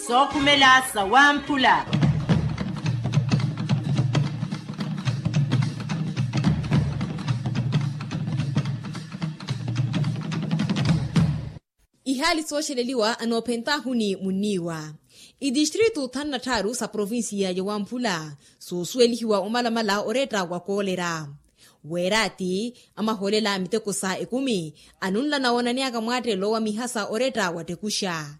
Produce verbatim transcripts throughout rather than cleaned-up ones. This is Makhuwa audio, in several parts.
Sookhumela sawamphula. Ihaali sooxeleliwa anoophentaahu ni munniiwa. Itistritu thanu na tthaaru sa provinsiya ya wamphula soosuwelihiwa omalamala oretta wa koolera. Weeraati amahoolela miteko sa ekumi anunla nawoonaneyaka mwaattelo wa mihasa oretta wattekuxa.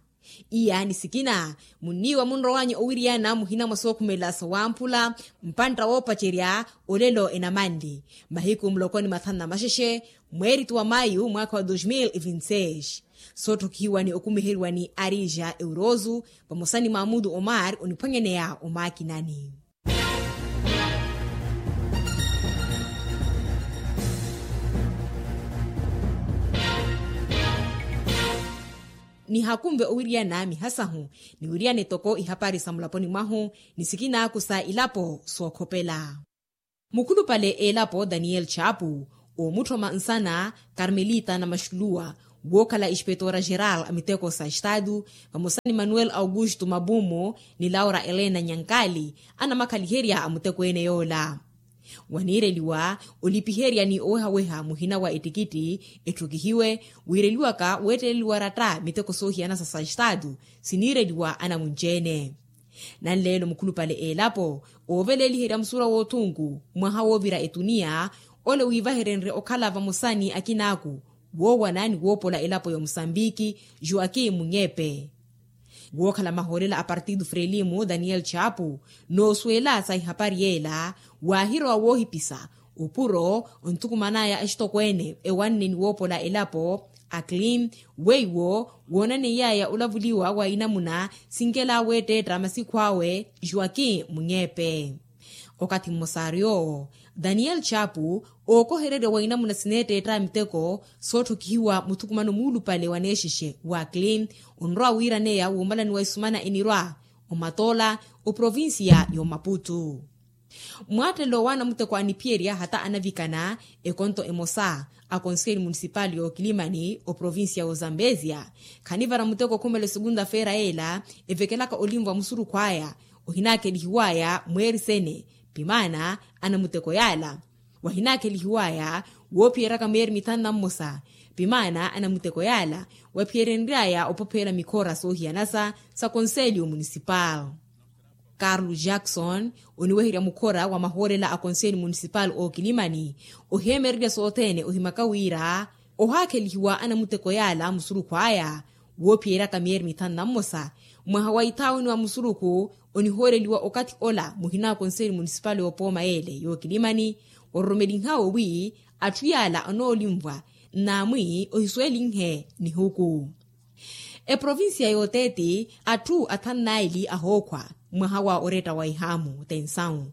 Iya ni sikina munniiwa munrowanya owiriyana muhina mwa sookhumela sawamphula mpantta woopacerya olelo enamanli mahiku mulokoni mathanu na maxexe mweeritu wa mayu mwaakha wa dos mil e vinti seis. Sootthokihiwa ni okumiheriwa ni arija eurozu vamosa ni maamudu omar oniphwanyaneya omaakinani. Nihakunve owiriyana mihasahu niwiriyana etoko ihapari sa mulaponi mwahu ni sikinaaku sa ilapo sookhopela. Mukhulupale elapo daniel chapu omutthoma nsana carmelita na maxuluwa wookhala espetoora geral a miteko sa estadu vamosa ni manuel augusto mabumo ni laura elena nyankali anamakhaliherya a muteko ene yoola. Waniireliwa olipiherya ni owehaweha muhina wa ettikitti etthukihiwe wiireliwaka weetteleliwa ratta miteko soohiyanasa sa estadu siniireliwa anamunci-ene. Nanleelo mukhulupale elapo ooveleeliherya musurwa woothunku mwaha woovira etuniya ole wiivaherenrye okhala vamosa ni akinaaku woowana ni woopola elapo ya omusambiki joaquim munyepe. Wookhala mahoolela a partido frelimo daniel chapu noosuwela sa ihapari yeela waahirowa woohipisa opuro onthukumanaya axitokweene ewanne ni woopola elapo a clean weiwo woonaneiyaya olavuliwa wa inamuna sinkela weetteetta masikhu awe joaquim munyepe. Okathi mmosaari owo daniel chapu ookohererya wa inamuna sineetteetta miteko sootthokihiwa muthukumano muulupale wa neexexe wa clean onrowa wiiraneya woomalaniwa isumana enirwa omatoola oprovincia y'omaputu. Mwaattelo wa anamuteko aniphiyerya hata anavikana ekonto emosa a konseli munisipali y'okilimani oprovincia y'ozambezia khanivara muteko okhumela esukunta-feera yeela evekelaka olinva musurukhu aya ohinaakelihiwaya mweeri sene pimaana anamuteko yaala wahinaakelihiwaya woophiyeryaka myeeri mithanu na mmosa pimaana anamuteko yaala waphiyerenryaya opopheela mikhora soohiyanasa sa konseli y'omunisipali. Carlo jackson oniweherya mukhora wa mahoolela a konseli munisipali ookilimani oheemererya sothene ohimaka wira ohaakhelihiwa anamuteko yaala musurukhu aya woophiyeryaka myeeri mithanu na mmosa mwaha wa ithaawini wa musurukhu onihooreliwa okathi ola muhina wa konseli munisipali y'opooma yeele y'okilimani ororomelinhawe wi atthu yaala anoolinvwa nnaamwi ohisuwelinhe nihuku. Eprovincia y'oteeti atthu athanu naili ahookhwa mwaha wa oretta wa ihaamu tensawu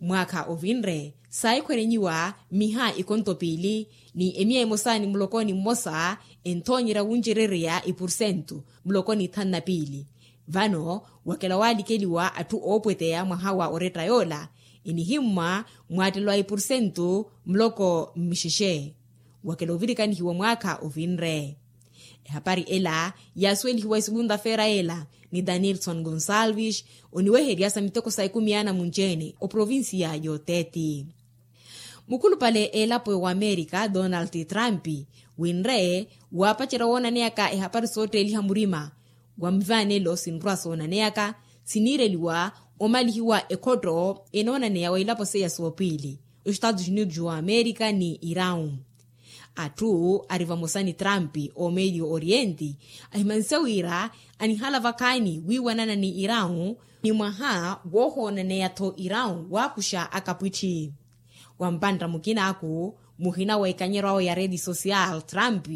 mwaakha ovinre saahikhwerenyiwa miha ikonto piili ni emiya emosa ni mulokoni mmosa enthoonyerya wuncerereya ipursentu mulokoni ithanu na piili. Vano wakela waalikeliwa atthu oopweteya mwaha wa oretta yoola enihimmwa mwaattelo a ipursentu muloko mmixexe wakela ovirikanihiwa mwaakha ovinre. Ehapari ela yaasuwelihiwa esukunta-feera ela ni danielson gonsalves oniweherya sa miteko sa ekumi ya anamunci-ene oprovincia y'oteeti. Mukhulupale elapo y'owamerika donald trump winre waapacerya woonaneyaka ehapari sootteeliha murima wa mivaanelo sinrwa soonaneyaka siniireliwa omalihiwa ekhotto enoonaneya wa ilapo seiya soopiili ostatus unidos wa amerika ni irau. Atthu ari vamosa ni trump omedio oriente ahimanse wira anihala vakhaani wiiwanana ni irau ni mwaha woohoonaneya-tho irau waakuxa akapwitthi. Wa mpantta mukinaku muhina wa ikanyeryo awe ya rede social trump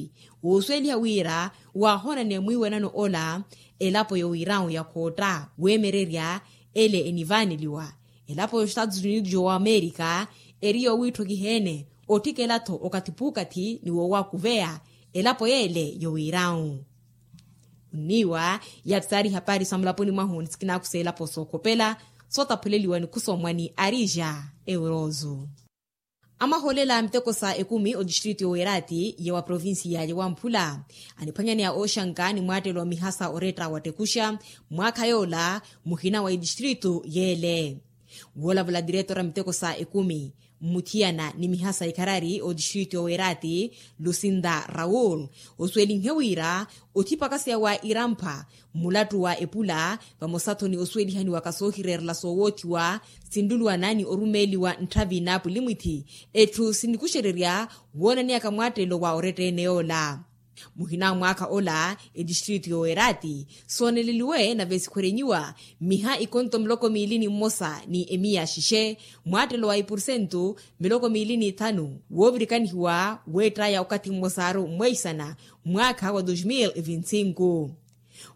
oosuweliha wira waahoonaneya mwiiwanano ola elapo y'owirau ya khootta weemererya ele enivaaneliwa elapo y'ostatus unidos y'owamerika eri yoowiitthokiheene otthikela-tho okathi puukathi ni woowakuveya elapo yeele y'owirau. Onniiwa yaari saari ihapari sa mulaponi mwahu ni sikinaku s'elapo sookhopela sootaphuleliwa ni khusoomwa ni arija eurozu. Amahoolela a miteko sa ekumi otistritu y'owerati ya wa provincia ya wamphula aniphwanyaneya ooxanka ni mwaattelo wa mihasa oretta wa tekuxa mwaakha yoola muhina wa itistritu yeele. Woolavula diretora miteko sa ekumi mmuthiyana ni mihasa ikharari otistritu y'owerati lucinda raul osuwelinhe wira othipakaseya wa irampha mmulattu wa epula vamosa-tho ni osuwelihaniwaka soohireerela soowoothiwa sinluluwana ni orumeeliwa ntthavi n'apulimwithi etthu sinikuxererya woonaneyaka mwaattelo wa oretta-ene yoola. Muhina a mwaakha ola etistritu y'owerati sooneleliwe nave sikhwerenyiwa miha ikonto miloko miili ni mmosa ni emiya xixe mwaattelo wa ipursentu miloko miili ni thanu woovirikanihiwa weettaya okathi mmosaaru mmweisana mwaakha wa dos mil e vinti sinku.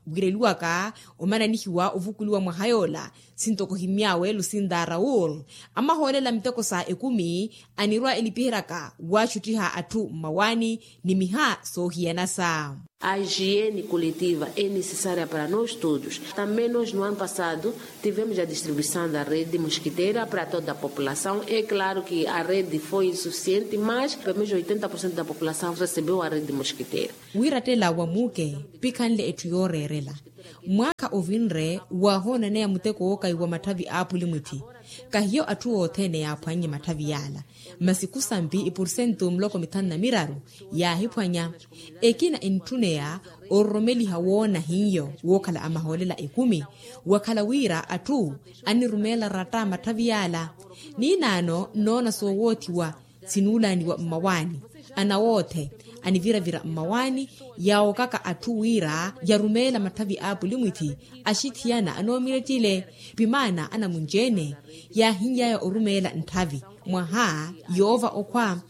Wiireliwaka omananihiwa ovukuliwa mwaha yoola sintoko ohimy'awe lucinda raul amahoolela miteko sa ekumi anirwa elipiheryaka waaxuttiha atthu mmawaani ni miha soohiyanasa. A higiene coletiva é necessária para nós todos. Também nós no ano passado tivemos a distribuição da rede mosquiteira para toda a população. É claro que a rede foi insuficiente, mas pelo menos oitenta por cento da população recebeu a rede mosquiteira. Wiirattela wa muuke pikhanle etthu yooreerela mwaakha ovinre waahoonaneya muteko wookayiwa matthavi a apulimwithi. Kahiyo atthu othene yaaphwannye matthavi yaala masi khusampi ipursentu muloko mithanu na miraru yaahiphwanya. Ekina entthuneya ororomeliha woona hiyo wookhala amahoolela ekumi wakhala wira atthu anirumeela ratta matthavi yaala. Ninaano nnoona soowoothiwa sinuulaaniwa mmawaani anawoothe aniviravira mmawaani yaawokaka atthu wira yarumeela matthavi a apulimwithi axithiyana anoomirettile pimaana anamunci-ene yaahiny'aya orumeela ntthavi mwaha yoova okhwa.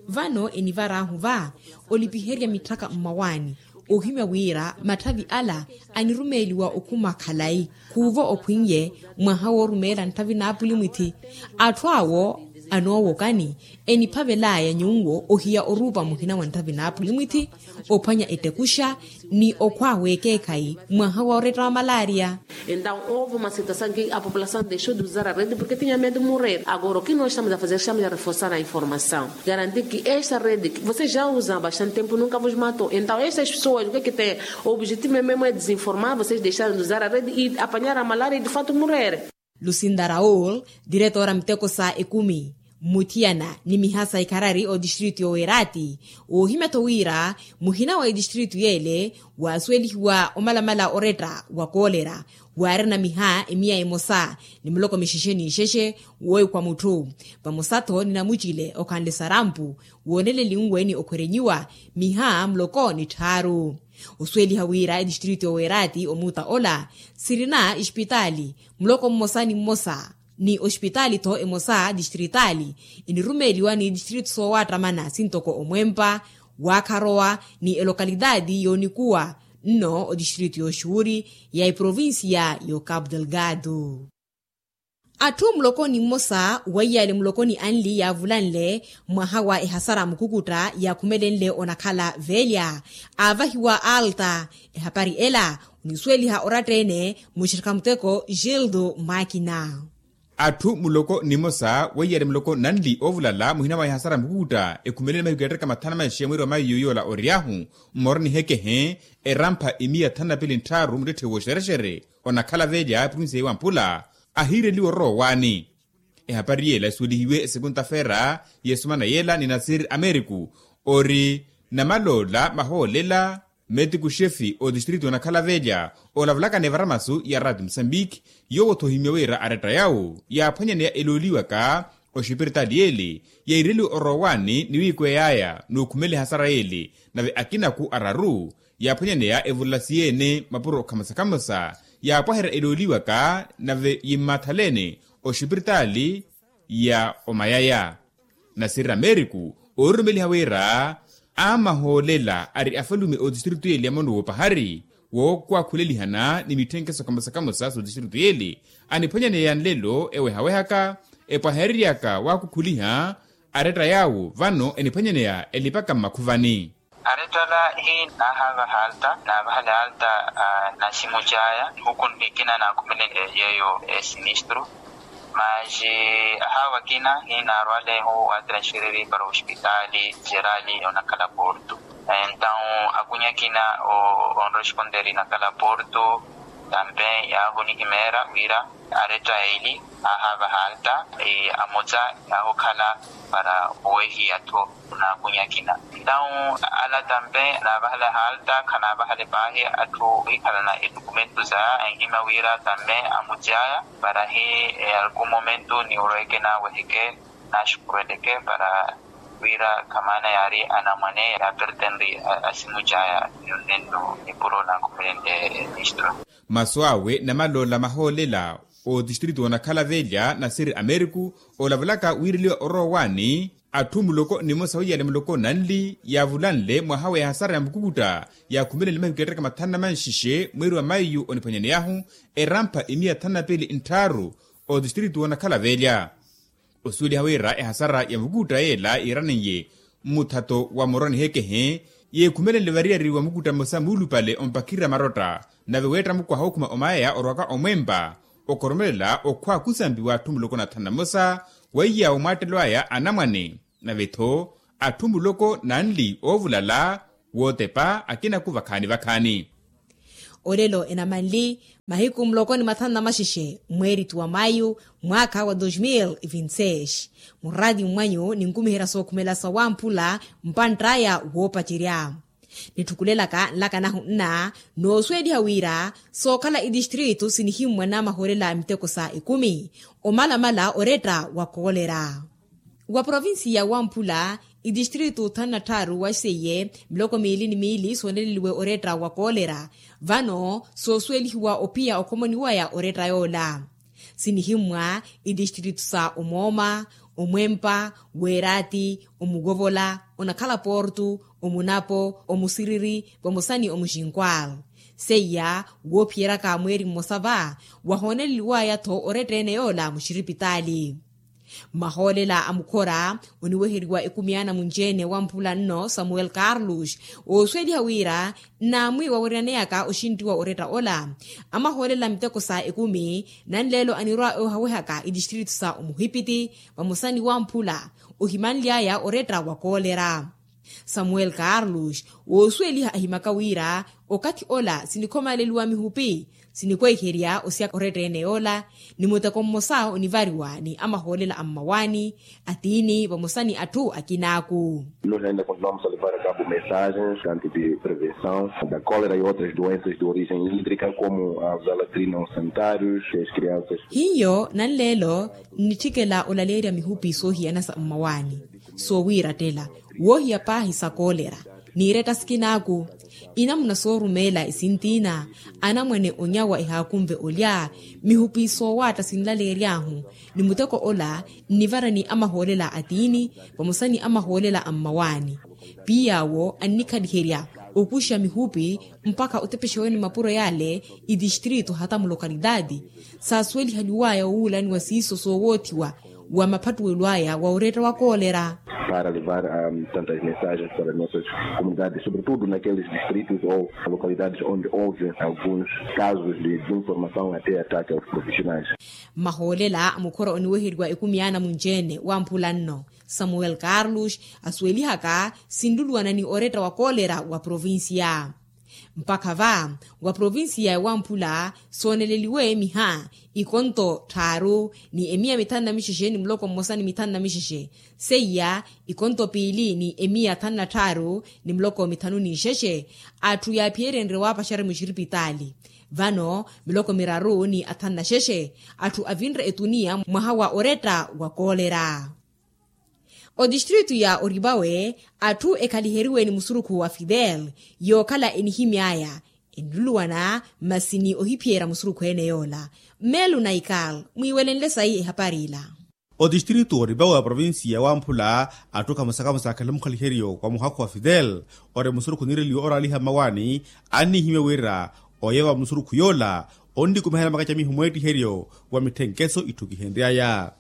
Vano enivar'ahu va olipiherya mitthaka mmawaani ohimya wira matthavi ala anirumeeliwa okhuma khalayi khuuvo okhwin'ye mwaha woorumeela ntthavi n'apulimwithi. Atthu awo anoowokani eniphavel'aya nyuwo ohiya oruupa muhina wa ntthavi n'apulimwithi ophwanya ettekuxa ni okhwa w'ekeekhayi mwaha wa oretta wa malaria. Entaw oova uma situasaw ki a populasaw dexu di uzara redi porke tinha medu mureri agora o ki no estamos a fazer estamos a reforsar a informasaw garantir ki esta redi ki voces ja uzam bastante tempo nunka vos matou entaw estas pesoas o ki ki tem o objetivo memu e desinformar voces dexaram di uzara redi i apanyara malaria i di fato mureri. Lucinda raul diretora miteko sa ekumi mmuthiyana ni mihasa ikharari otistritu y'owerati woohimya-tho wira muhina wa itistritu yeele waasuwelihiwa omalamala oretta wa koolera waarina miha emiya emosa ni muloko mixexe n'ixexe wooikwa mutthu vamosa-tho ni namucile okhanle sarampu wooneleliwe ni okhwerenyiwa miha muloko ni tthaaru. Osuweliha wira etistritu y'owerati omuuta ola sirina exipitaali muloko mmosa ni mmosa ni oxipitaali-tho emosa distritali enirumeeliwa ni distritu soowaattamana sintoko omwempa waakharowa ni elokalitati yoonikuwa nno odistritu y'oxuuri ya eprovincia y'ocapu delgado. Atthu muloko ni mmosa weiyale muloko ni anli yaavulanle mwaha wa ehasara mukukutta yaakhumelenle onakhala velya aavahiwa alta. Ehapari ela onisuweliha oratta-ene muxirikha muteko gildo makina. Atthu muloko nimosa weiyale muloko nanli oovulala muhina mwa ehasara mukukutta ekhumelele mahiku yattaka mathanu na maixi ya mwiiri wa mayi yoola oryahu mmoro nihekehe erampha imiya thanu na pili nttharu muttetthe wooxerexere onakhala velya provinsiya ya wamphula ahiireliwa ororowani. Ehapari yeela esuwelihiwe esekunta feera y'esumana yeela ni nasir ameriku ori namaloola mahoolela metiku xefi otistritu onakhala velya olavulaka ni evaramasu ya rati musambiki yoowo-tho ohimya wira aretta yawo yaaphwanyaneya elooliwaka oxipiritali yeele yaireliwe orowani ni wiikwey'aya n'ukhumela ehasara yeele nave akinaku araru yaaphwanyaneya evulasi yeene mapuro khamosa-khamosa yaapwaherya elooliwaka nave yimmaathalene oxipiritali ya omayaya. Nasirira meriku oorurumeliha wira aamahoolela ari afalume otistritu yeele ya mono woopahari wookwakhulelihana ni mitthenkeso khamosa-khamosa sotistritu yeele aniphwanyaneya nlelo ewehawehaka epwahereryaka waakukhuliha aretta yaawo vano eniphwanyaneya elipaka mmakhuvani. Arettala hiinaahaavaha alta naavahale alta. Naximuc'aya nihuku nnikina naakhumelele yeeyo esinistru Masi ahawa akina hinaarwalehu watransfereri para ospitaali jerali onakhala porto. Entawu akunya akina onresponderi nakhala porto tampe yaahunihimeera wira aretta eli ahava halta amutsa yaahukhala para owehiya tho naakunya akina. Entawu ala tampe naavahala halta khanaavahale paahi atthu ohikhalana etukumentu saya anhima wira tampe amutyaya para hi alku momentu niwurweke naaweheke naxukuruweleke para wira khamaana yaari anamwane yaapertenri asimutyaya nonnenno nipuro nankhumelente ministro. Masu awe namaloola mahoolela otistritu onakhala velya nasiri ameriku olavulaka wiireliwa orowa waani atthu muloko nimosa wiyale muloko nanli yaavulanle mwaha wa ehasara ya mukukutta yaakhumelenle mahiku eettaka mathanu na manxixe mweeri wa mayu oniphwanyaneyahu erampha imiya thanu na piili ntthaaru otistritu onakhala velya. Osuweliha wira ehasara ya mukukutta yeela yiiraneiye mmuthato wa muroni hekehe yeekhumelenle variyari wa mukukutta mmosa muulupale ompakhirirya marotta nave weetta mukwaha okhuma omaya orwaka omwempa okhoromelela okhwa khusambi w'atthu muloko na thanu na mmosa weiya omwaattelo aya anamwane nave-tho atthu muloko nanli oovulala wootepa akinaku vakhaani vakhaani. Olelo enamanli mahiku muloko ni mathanu na maxexe mweeritu wa mayu mwaakha wa dos mil e vinte seis muraati mmwanyu ninkumiherya sookhumela sa wamphula mpantt'aya woopacerya. Nitthukulelaka nlakanahu nna noosuweliha wira sookhala itistritu sinihimmwa namahoolela a miteko sa ekumi omalamala oretta wa koolera. Wa provinsiya wamphula itistritu thanu na tthaaru waxiseiye miloko miili ni miili sooneleliwe oretta wa koolera. Vano soosuwelihiwa ophiya okhomoni waya oretta yoola sinihimmwa itistritu sa omooma, omwempa, weeraati, omukovola, onakhala portu, omunapo, omusiriri vamosa ni omuxinkwal. Seiya woophiyeryaka mweeri mmosa va wahooneleliwaya-tho oretta ene yoola muxiripitaali. Mmahoolela a mukhora oniweheriwa ekumi ya anamunci-ene wamphula nno samuel carlos oosuweliha wira nnaamwi waweryaneyaka oxinttiwa oretta ola. Amahoolela miteko sa ekumi nanleelo anirwa oohawehaka itistritu sa omuhipiti vamosa ni wamphula ohimanly'aya oretta wa koolera. Samuel carlos woosuweliha ahimaka wira okathi ola sinikhomaleliwa mihupi sinikweiherya osiyaka oretta ene yoola ni muteko mmosa onivariwa ni amahoolela a mmawaani atiini vamosa ni atthu akinaaku. Nós ainda continuamos a levar a cabo mensagens tanto de prevenção da cólera e outras doenças de origem hídrica como as alatrinas sanitários e as crianças. Hiyo nanleelo nnitthikela olaleerya mihupi soohiyana sa mmawaani soowiirattela woohiya paahi sa koolera n'iretta sikinaaku. Inamuna soorumeela esintiina anamwane onyawa ehaakunve olya mihupi soowaatta sinlaleery'ahu ni muteko ola nnivara ni amahoolela atiini vamosa ni amahoolela a mmawaani. Piy'awo annikhaliherya okuxa mihupi mpakha otepexeweni mapuro yale itistritu hata mulokalitaati saasuwelihaliwaya owuulaniwa siiso soowoothiwa wa maphattuwelo aya wa oretta wa koolera. Para levar tantas mensagens para nossas comunidades sobretudo naqueles distritos ou localidades onde houve alguns casos de desinformação até ataque aos profissionais. Mmahoolela a mukhora oniweheriwa ekumi ya anamunci-ene wamphula nno samuel carlos asuwelihaka sinluluwana ni oretta wa koolera wa provincia. Mpakha va wa provincia ya wamphula sooneleliwe miha ikonto tthaaru ni emiya mithanu na mixexe ni muloko mmosa ni mithanu na mixexe seiya ikonto piili ni emiya thanu na tthaaru ni muloko mithanu ni ixexe atthu yaaphiyerenrye waapaxerya muxiripitaali. Vano miloko miraru ni athanu na xexe atthu avinre etuniya mwaha wa oretta wa koolera. Otistritu ya oripawe atthu ekhaliheriwe ni musurukhu wa fidel yookhala enihimy'aya enluluwana masi ni ohiphiyerya musurukhu ene yoola. Melu naikal mwiiwelenle sayi ehapari ila. Otistritu oripawe wa provincia ya wamphula atthu khamosa khamosa akhale mukhaliheryo wa muhakhu wa fidel ori musurukhu niireliwe oraaliha mmawaani annihimya wira oyeewa musurukhu yoola onnikumiherya makacamiho mweettiheryo wa mitthenkeso itthukihenry'aya.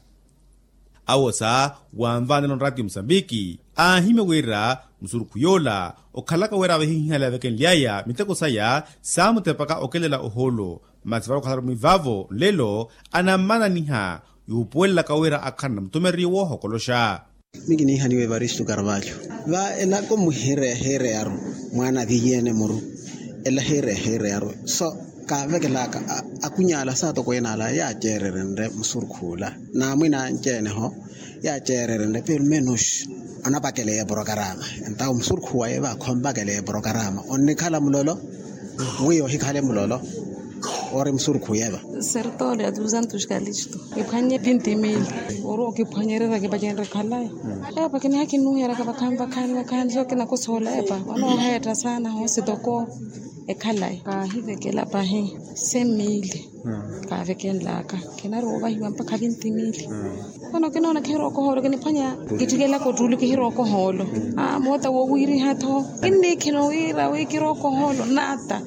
Awosa wanvaanela onraati musambiki aahimya wira musurukhu yoola okhalaka wira avehihihala yavekenly'aya miteko saya saamutepaka okelela ohoolo masi vale okhalari mwivaavo nlelo anammananiha yuupuwelelaka wira akhanle mutumereriyo woohokoloxa. Mikiniihaniwa evaristu karvalho va elako muhireya hireyaru mwaana avihiye-ene muru. Ela hireya hireyaru so kaavekelaka akuny'ala saatokweene ala yaaceererenre musurukhu ula n'amwina anci-ene-ho yaaceererenre peru menos onapakeleya eporokarama. Entawo musurukhu waye va khompakeleya eporokarama onnikhala mulolo. Mwiya ohikhale mulolo ori musurukhu yeva. Sertole a duzentos kalisto ephwanye vinti mili. Ori okiphwanyererya kipacenre khalayi. Epa kiniha kinuheraka vakhaani vakhaani vakhaani so kinakosola epa. Onooheetta saana hoosi toko ekhalayi kaahivekela pahi. Sen mili kaavekenlaka. Kinarowa ovahiwa mpakha vinti mili. Vano kinoona kihirookohoolo kiniphwanya. Kitthikelaka ottuli kihirookohoolo. Moota woowiriha-tho kinniikhina wira wi kirookohoolo nata.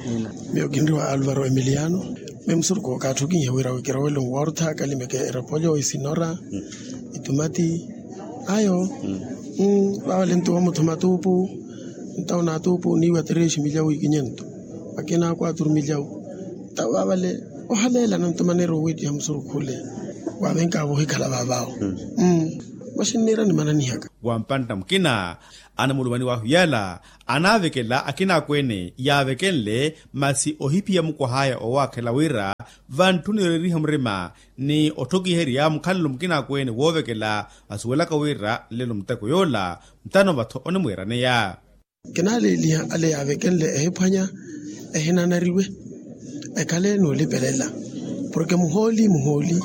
Miyo kinriwa alvaro emiliano. Miyo musurukhu okaatthi okinyiha wira wi kirowele nwoortha kalimeke erepolyo isinora itumati. Ayo vavale nto wamuthuma tuupu. Ntawo naatuupu niiwa terexi milyawu ikinyentu. Akina kwaturu milyawu. Ntawo vavale ohaleela nanto maneera owiittiha musurukhu ole. Waavenkavo ohikhala vaavawo. Mwaxinniira nimananihaka. Wa mpantta mukina anamulumani wahu yala anaavekela akinaakweene yaavekenle masi ohiphiya mukwah'aya owaakhela wira vantthuni yoreeriha murima ni otthokiherya mukhalelo mukinaakweene woovekela. Asuwelaka wira nlelo muteko yoola mutano va-tho onimwiiraneya. Kinaaleeliha ale yaavekenle ehiphwanya ehinanariwe ekhale n'ulipelela porke muhooli muhooli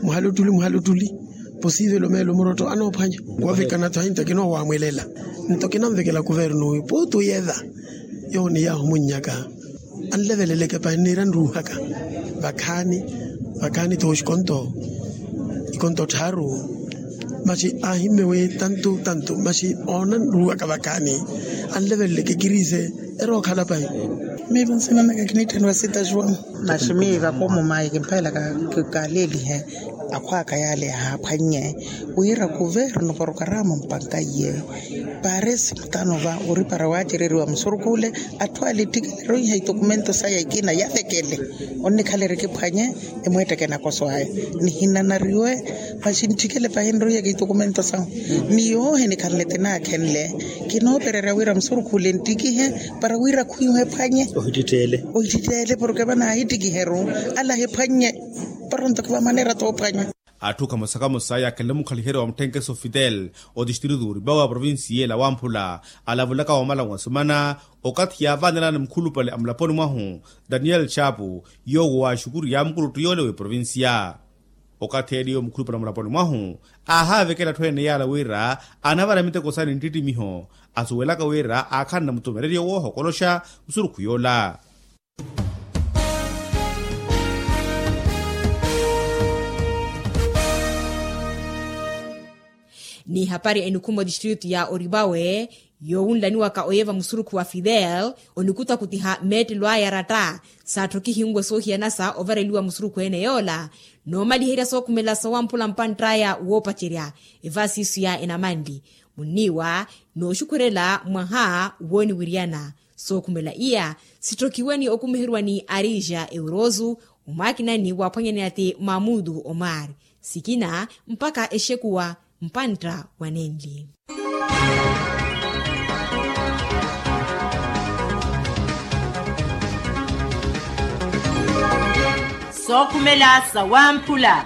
muhalottuli muhalottuli posivelo meelo murotto anoophwanya. Woovekana-tho ahinta kinoowaamwelela nto kinanvekela kuvernu wi puutu yeva. Yowo ni yaahumunnyaka anleveleleke pahi nniira nruuhaka vakhaani vakhaani tooxikonto ikonto tthaaru. Maxi aahimme wi tantu tantu maxi oona nruuhaka vakhaani anleveleleke kiriise erookhala pahi. Miivo nsinanaka kiniitthaniwa sitaxuwamu. Maxi miiva koomo mayi kimphelaka kikaleelihe akhwaaka yaale ahaaphwannye wira kuvernu porokarama mpanka iye paresi mutano va ori para waacereriwa musurukhu ole. Atthu ale ettikile eroiha itokumento saya ikina yavekele onnikhala erikiphwanye emweetteke nakoso aya nihinanariwe. Maxi ntthikele pahi nroiyaka itokumento sahu ni yoohi nikhanle tinaakhenle kinoopererya wira musurukhu ole nttikihe para wira khwiihu ephwanye. Ohittittele porke vanaahittikiheru ala ahiphwannye para ontoke va maneera toophwanya. Atthu kamosa kamosa yaakhenle mukhaliheryo wa mutthenkeso fidel otistritu oripawe wa provincia ela wamphula alavulaka wamala wa semana okathi yaavanelani mukhulupale amulaponi mwahu daniel chapu yoowo waaxukuriya mukuluttu yoole w'eprovincia. Okathi eeliyo mukhulupale amulaponi mwahu aahaavekela atthu ene yaala wira anavara miteko saani nttittimiho asuwelaka wira aakhanle mutumereryo woohokoloxa musurukhu yoola. Ni hapari enikhuma otistritu ya oripawe yoowunlaniwaka oyeva musurukhu wa fidel onikutakutiha meettelo aya aratta saatthokihiwe soohiyanasa ovareliwa musurukhu ene yoola noomaliherya sookhumela sowamphula mpantt'aya woopacerya evaasiisu ya enamanli munniiwa nooxukhwerela mwaha wooniwiryana. Sookhumela iya sittokiwe ni okumiheriwa ni arija eurozu omwaakinani waaphwanyaneya ti mamudu omar sikina mpakha exekuwa mpantta wa nenli. Sookhumela sawamphula.